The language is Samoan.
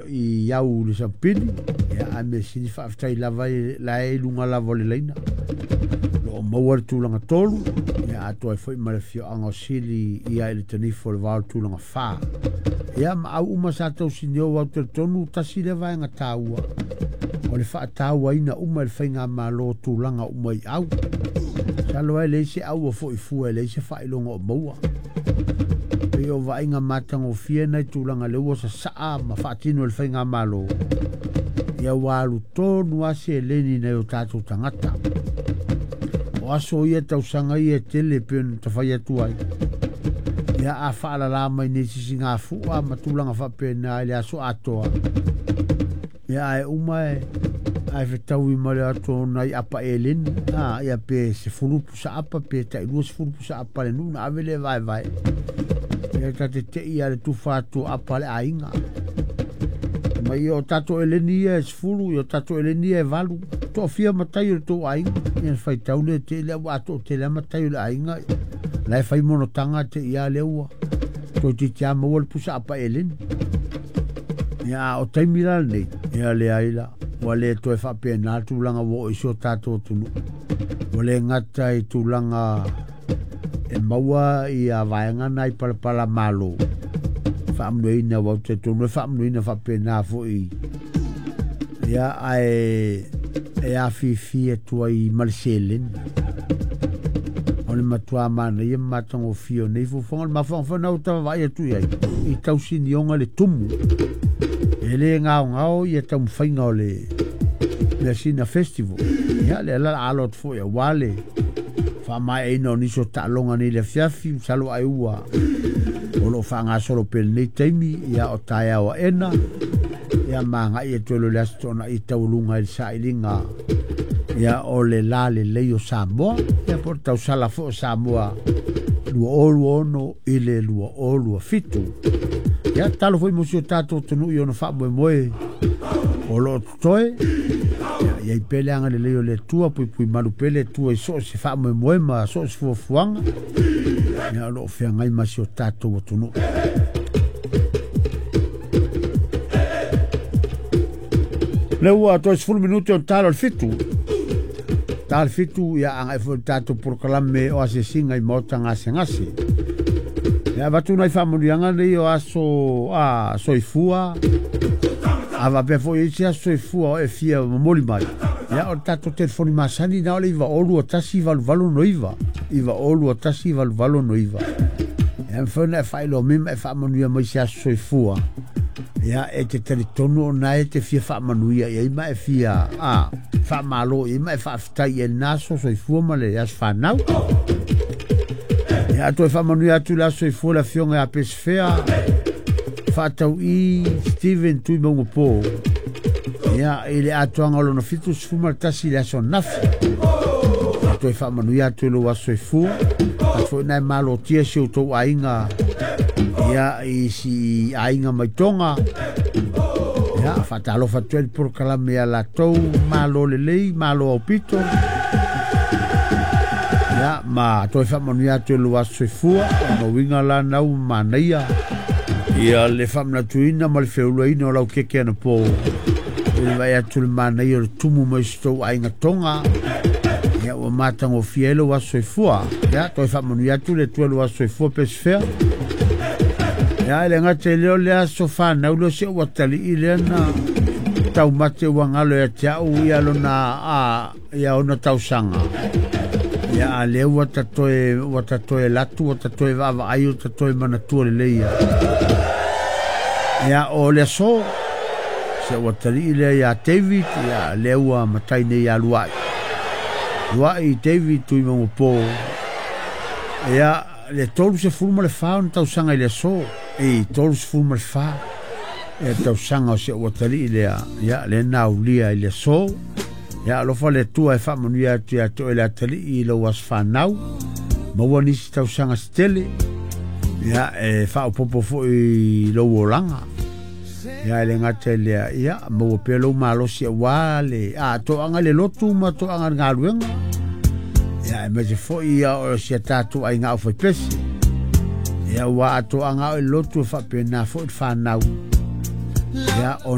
i au le sampili. Ia a mea sili faafetai lava la e i luga lava o le laina. Lo o maua le tulaga 3, ia atoa ai foi ma le afioaga o Sili ia i le Tanifu o le Vao le tulaga 4. Ia ma au uma sa tausinio au talitonu tasi le vaega taua o le faatauaina uma e le faigamalo tulaga uma i au. Masalo ai leai se au o foi fua e leai se faailoga o maua. Pei o vaaiga matagofie nai tulaga lea ua sasaa ma faatino e le faigamalo. Ia ua alu tonu lava seleni nai o tatou tagata. O aso ia tausaga ia e tele pei ona tafai atu ai. Ia a faalala mai nei sisigafua ma tulaga faapena i le aso atoa. Ia ae uma e ae fetaui ma le atu nai apa eleni. Ia pe 10 pusa apa pe tai 20 pusa apa le nuu na ave le vaevae. Ia ta te tei ia le tufa atu apa le aiga. Ma ia o tatou eleni ia e 10, ia o tatou eleni ia e 8. Toafia matai o le tou aiga. Ia faitau le te le ua ato te le matai o le aiga. La e fai monotaga te ia le ua. Toi te tia maua le pusa apa eleni. Ia o taimi la nei. Ia le ai la. Ua le toe faapena tulaga ua oo i si o tatou atunuu. Ua le gata i tulaga e maua ia vaega nai palapala malo. Faamanuiaina ua ou talitonu e faamanuiaina faapena foi. Ia ae e afifi atu ai ma le seleni. O le matua manaia ma matagofie o nei fuafuaga. O le mafuaaga foi lena ua tavavaai atu i ai i tausinioga le tumu. E le gaogao ia taumafaiga o le Measina Festival. Ia lea la alo atu foi aua le faamaeaina o nisi o taaloga nei i le afiafi. Masalo ai ua o lo o faagasolo pea lenei taimi. Ia o taeao aena. Ia magai atu ai loa le Aso Toonai taualuga i le sailiga. Ia o le la lelei o Samoa. Ia po o le tausala foi o Samoa 2026 i le 2027. Ia tatalo foi mo si o tatou atunuu i ona faamoemoe o lo o totoe. Ia i ai pea le agalelei o le Atua, puipui malu pea le Atua i so o se faamoemoe ma so o se fuafuaga. Ia o lo o feagai ma si o tatou atunuu. Lea ua toe 10 minute o talo le 7. Ta le 7 ia agai foi le tatou polokalame o asiasiga i maota gasegase. Ia avatu nai faamanuiaga nei o aso soifua. A faapea foi i se aso soifua o e fia momoli mai. Ia o le tatou telefoni masani na o le 902 188 902 188. Ia mafai ona e faailoa mai ma e faamanuia mai se aso soifua. Ia e te talitonu o na e te fia faamanuia i ai ma e fia faamalo i ai ma e faafetai i ai lena aso soifua ma le aso fanau. Ia toe faamanuia atu le aso soifua le afioga ia Pesefea Faatau'i Steven Tui Maungapō. Ia i le atoaga o lona 71 i le aso ananafi. Ia toe faamanuia atu i lou aso soifua. Atu foi na e malotia si outou aiga ia i si aiga mai Toga. Ia faatalofa atu ai le polokalame ia latou malo lelei, malo aupito. Ia ma toe faamanuia atu i lou aso soifua. O lona uiga la nau manaia ia le faamanatuina ma le feuluaina o lau keke anapo. I le vaai atu le manaia o le tumu mai si tou aiga Toga. Ia ua matagofie ai lou aso soifua. Ia toe faamanuia atu le Atua i lou aso soifua Pesefea. Ia e le gata i lea o le aso fanau lea o si ou atalii lea na taumate ua galo ia te au ia lona ia ona tausaga. Ia a lea ua ta toe latu, ua ta toe vaavaai, ua ta toe manatua lelei ia. Ia o le aso se ua atalii lea ia David, ia lea ua matai nei ia Luai. Luai David Tui Maungapō. Ia le 34 ona tausaga i le aso. E 34 ia tausaga o se ua atalii lea. Ia le naulia i le aso. Ia alofa le Atua e faamanuia atu ia te oe le atalii i lou aso fanau. Maua nisi tausaga se tele. Ia e faaopoopo foi i lou olaga. Ia e le gata i lea, ia maua pea lou malosi aua le toaga i le lotu ma toaga i le galuega. Ia e maise foi ia o si a tatou aiga aufaipese. Ia ua atoaga o i le lotu e faapena foi le fanau. Ia